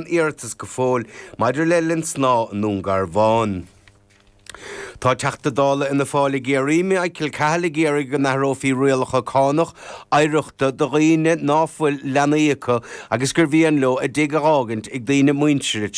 iarratas go fóill maidir le Linn Snámha i nDún Garbhán. Tá Teachta Dála Fhianna Fáil i gCiarraí, Michael Cahill ag iarraidh go n-athrófaí rialacha cánach oidhreachta do dhaoine ná fuil leanaí acu agus gur mhian leo a dtigh a dh'fhágaint ag daoine muinteartha.